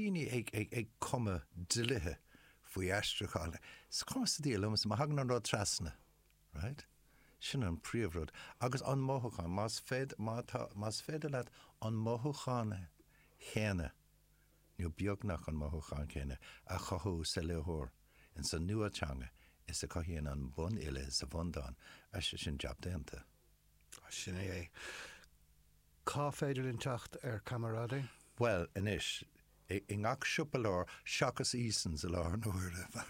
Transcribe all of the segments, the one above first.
daoine ag, ag, ag cumadh dlíthe faoi aistriúchán. Is cuma sa diabhal liomsa má thagann an rud trasna, right? Sin an príomhrud. Agus an mothúchán, más féidir, má tá, más féidir leat an mothúchán chéanna, nó beagnach an mothúchán céanna, a chothú sa léitheoir ins an nua-teanga is a chothaíonn an bunfhile sa bhundán, sin jab déanta. Sin é é. Cá féidir linn teacht ar Camarade? Bhuel, anois, i ngach siopa leabhar, seachas Easons i láthair na huaire, mar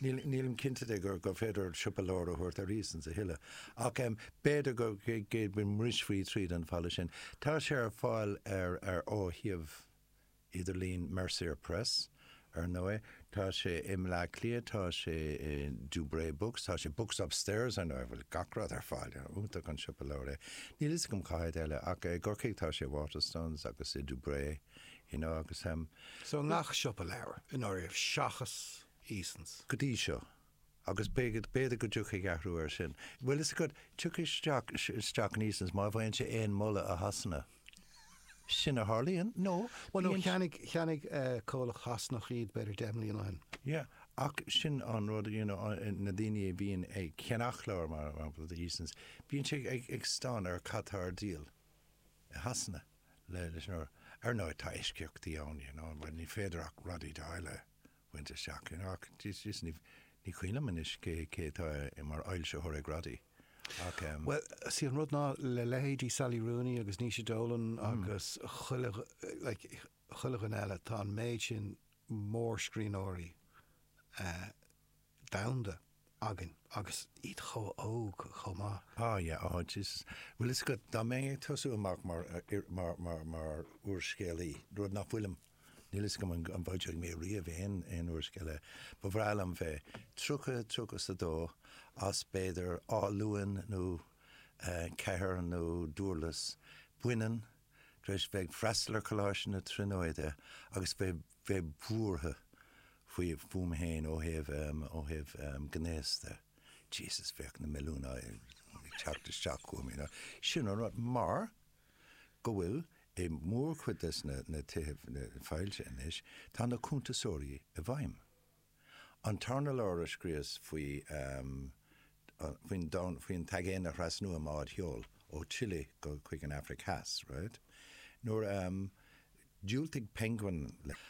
nílim cinnte de gur féidir siopa leabhar a thabhairt ar Easons a thuilleadh. Ach b'fhéidir go mbrisfí tríd an bhfalla sin. Tá sé ar fáil ar ar ó shuíomh idirlín Mercier Press, ar ndóigh. Tá sé i mBleá Cliath, tá sé i Dubray Books, tá sé Books Upstairs, ar ndóigh, a bhfuil gach rud ar fáil. Iontach an siopa leabhar é. Níl fhios agam cá háit eile, ach i gCorcaigh tá sé i Waterstones agus i Dubray, you know, agus. So i ngach siopa leabhar, i ndáiríre, seachas Easons. Go dtí seo. Agus b'fhéidir go dtiocfaidh athrú air sin. Bhfuil fhios agat, tiocfaidh isteach, isteach in Easons má bhfaigheann sé aon moladh i Shasana. Sin a tharlaíonn, nó Bhuel, nó cheannaigh, cheannaigh comhlacht Shasanach iad b'fhéidir 10 mbliana ó shin. Yeah, ach sin an rud, you know, na daoine a bhíonn ag ceannach leabhar, mar shampla, do Easons, bíonn sé ag, ag stánadh ar cad tá ar díol i Shasana le, leis an, ar ndóigh tá eisceachtaí ann, you know, mar ní féidir ach Roddy Doyle a bhaint isteach, you know, ach Jesus, ní, ní cuimhin liom anois cé, cé atá mar fhoilsitheoir ag Roddy, ach em. Bhuel, sí an rud ná le leithéidí Sally Rooney agus Naoise Dolan agus chuile, like, chuile dhuine eile, tá an méid sin mórscríbhneoirí eh, domhanda againn agus iad chomh hóg chomh maith. Ah yeah, oh Jesus. Bhfuil fhios agat, dá mbeinn ag tosú amach mar, mar, mar, mar úrscéalaí, rud nach bhfuilim, níl fhios agam an, an bhfoilseoidh mé riamh aon, aon úrscéal eile, ba bhreá liom bheith 30, 32, as b'fhéidir Áth Luain nó eh, Ceathair nó Dúrlas, baineann, tar éis bheith ag freastal ar Choláiste na Tríonóide agus bheith, bheith buartha faoi, fúm féin ó thaobh, ó thaobh gnéas de. Jesus, bheadh na milliúin ag teacht isteach chugam, you know. Sin an rud, mar go bhfuil i mórchuid des na, na tithe foilsithe anois, tá na cuntasóirí i bhfeidhm. An tarna leabhar a scríos faoi, faoin domhan, faoin t-aigéan a thrasnú i mbád sheoil ó Chile go chuig an Afraic Theas, right? Nuair, diúltaigh Penguin ach.